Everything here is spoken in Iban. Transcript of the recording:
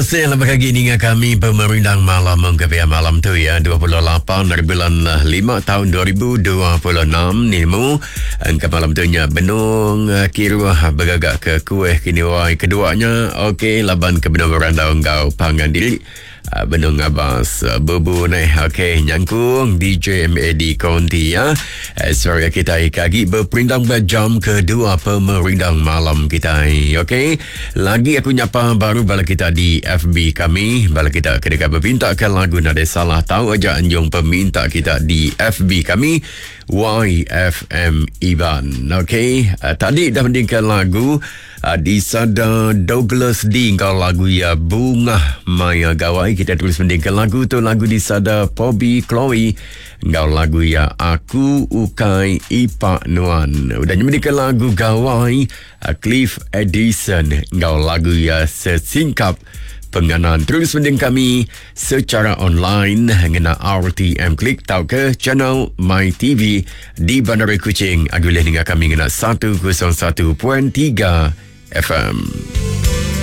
Kasih lebih agi ninga kami pemerindang malam mengkepia malam tu ya 28 hari bulan 5 tahun 2026 ni mu engka malam tu nya benung eh, kiruh bergagak ke kuih kini wai keduanya okey laban ke benung berandau enggau pangan diri Ah, benung ngabas ah, bubu neh okey nyangkung DJ MAD Konti ya. Eh, sorry kita agi berperindang ba jam kedua pemerindang malam kita. Okey. Lagi aku nyapa baru bala kita di FB kami, bala kita ke deka bepinta ke lagu nadai salah tau aja anjung peminta kita di FB kami YFM Iban. Okey, uh, tadi dah mendingkan lagu uh, di sada Douglas D enggau lagu ya Bunga Maya Gawai. Kita terus mendingkan lagu tu lagu di sada Pobi Chloe enggau lagu ya Aku Ukai Ipak Nuan. Udah nyemendingkan lagu Gawai Cliff Edison enggau lagu iya Sesingkap Penganan. Terus mending kami secara online ngena RTM Klik tauka channel My TV di Bandar Kuching. Agi ulih ninga kami ngena 101.3 FM.